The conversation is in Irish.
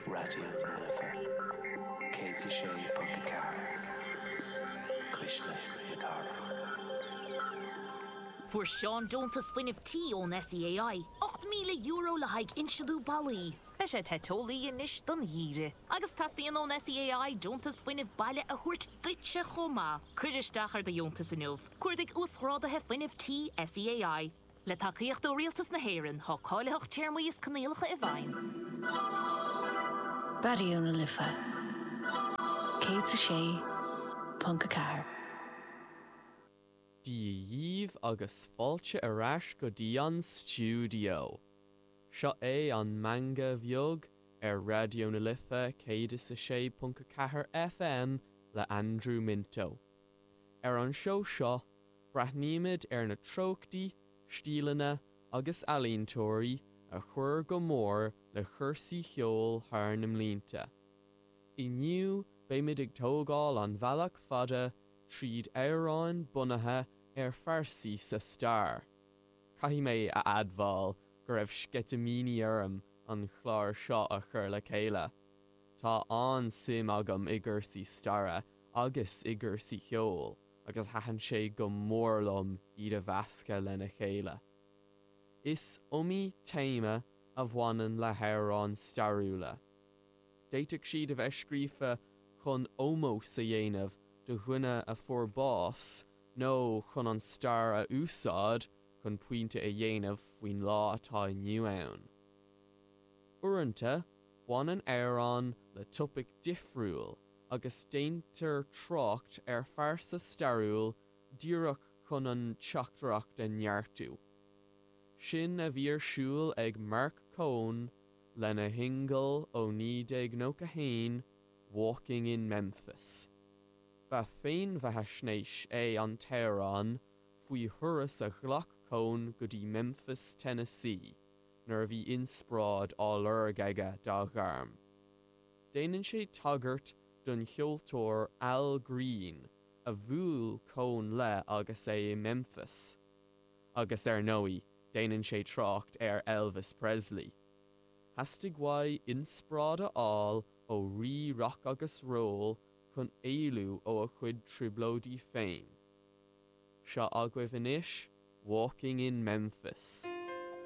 Raidió na Life 106.4, Cuisle na Cathrach. Fuair Seán deontas fuinnimh tí ón SEAI, €8,000 le haghaidh insealú ballaí. Beidh sé te teolaí anois don gheimhreadh. Agus teastaíonn ón SEAI deontas fuinnimh baile a thabhairt duitse chomh maith. Cuir isteach ar do dheontas inniu. Cuardaigh Uasghráduithe Fuinnimh Tí SEAI. Le tacaíocht ó Rialtas na hÉireann, tá cáilitheacht, téarmaí is coinníollacha i bhfeidhm. Raidió na Life 106.4. Dia dhíbh agus fáilte ar ais go dtí an stiúideo! Seo é an Meangadh Bheag ar Raidió na Life 106.4 FM le Andrew Minto. Ar an seó seo, breathnaímid ar na treochtaí, stíleanna agus ealaíontóirí a chuir go mór le cúrsaí cheoil thar na mblianta. Inniu beimid ag tógáil an bhealach fada tríd amhráin bunaithe ar phearsaí sa stair. Caithfidh mé a admháil go raibh sceitimíní orm an clár seo a chur le chéile. Tá an-suim agam i gcúrsaí staire agus i gcúrsaí cheoil agus thaitin sé go mór liom iad a mheascadh lena chéile. Is iomaí téama a bhaineann le hamhráin stairiúla. D'fhéadfadh siad a bheith scríofa chun ómós a dhéanamh do dhuine a fuair bás nó chun an stair a úsáid chun pointe a dhéanamh faoin lá atá inniu ann. Uaireanta, baineann amhrán le topaic difriúil agus déantar trácht ar phearsa stairiúil díreach chun an teachtaireacht a neartú. Sin a bhí ar siúl ag Marc Cohn lena shingil ó 1991, Walking in Memphis. Ba féinbheathaisnéis é an t-amhrán faoi thuras a ghlac Cohn go dtí Memphis, Tennessee nuair a bhí inspioráid á lorg aige dá ghairm. Déanann sé tagairt don cheoltóir Al Green a bhuail Cohn le agus é i Memphis. Agus ar ndóigh, déanann sé trácht ar Elvis Presley. Theastaigh uaidh inspioráid a fháil ó rí rock agus roll chun éalú ó a chuid trioblóidí féin. Seo agaibh anois Walking in Memphis.